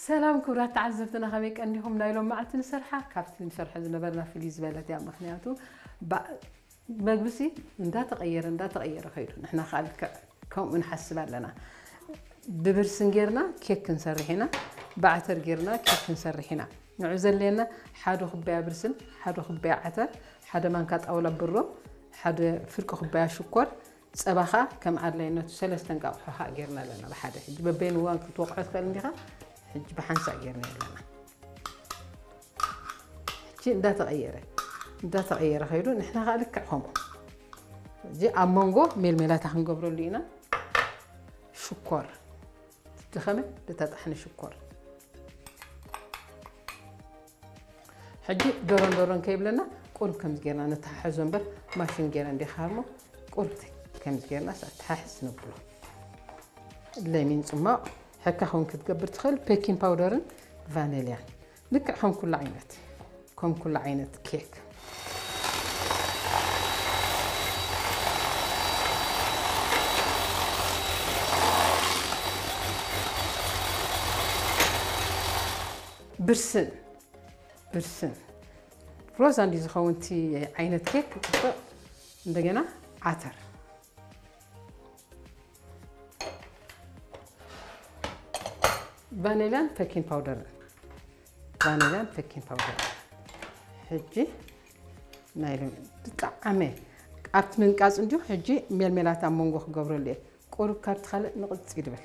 ሰላም ክቡራት ተዓዘብትና፣ ከመይ ቀኒኹም? ናይ ሎም መዓልቲ ንሰርሓ ካብቲ ንሰርሖ ዝነበርና ፍልይ ዝበለት እያ። ምኽንያቱ ባ-፣ መግብሲ እንዳተቐየረ እንዳተቐየረ ከይዱ፣ ንሕና ከዓ ልክዕ ከምኡ ንሓስብ ኣለና። ብብርስን ጌርና ኬክ ክንሰርሕ ኢና፣ ብዓተር ጌርና ኬክ ክንሰርሕ ኢና። ንዑ ዘድልየና ሓደ ኩባያ ብርስን፣ ሓደ ኩባያ ዓተር፣ ሓደ ማንካ ጣውላ ብሮ፣ ሓደ ፍርቂ ኩባያ ሽኮር፣ ጸባ ኸኣ ከም ኣድላይነቱ ሰለስተ እንቃቑሖ ኸኣ ጌርና ኣለና ብሓደ። ሕጂ በበይኑ እዋን ክትወቕዖ ትኽእል እንዲኻ። ሕጂ ብሓንሳእ ጌርና ኣለና። ሕጂ እንዳተቐየረ፣ እንዳተቐየረ ከይዱ ንሕና ኸኣ ልክዕ ከምኡ። ሕጂ ኣብ መንጎ ሜልሜላታ ክንገብረሉ ኢና። ሽኮር፣ ዝደኸመ ዝተጣሕነ ሽኮር። ሕጂ ደሮን ደሮን ከይብለና ቁሩብ ከምዚ ጌርና ነተሓሕዞ እምበር፣ ማሽን ጌረ እንዲኻ እሞ ቁሩብ ከምዚ ጌርና ኣተሓሕዝ ነብሎ። ለሚን ጽማቕ፣ ሕካ ኸውን ክትገብር ትኽእል። ቤኪንግ ፓውደርን ቫኔልያን ልክዕ ከም ኩሉ ዓይነት፣ ከም ኩሉ ዓይነት ኬክ። ብርስን፣ ብርስን ሮዛ እንዲ ዝኸውን እቲ ዓይነት ኬክ ጽቡቕ። እንደገና ዓተር፣ ቫኔላን ቤኪንግ ፓውደርን፣ ቫኔላን ቤኪንግ ፓውደርን። ሕጂ ናይ ሎሚ ብጣዕሚ ኣብቲ ምንቃጽ እንዲሁ። ሕጂ ሜልሜላት ኣብ መንጎ ክገብረሉ እየ። ቁሩብ ካብቲ ካልእ ንቕጽ ይድብል።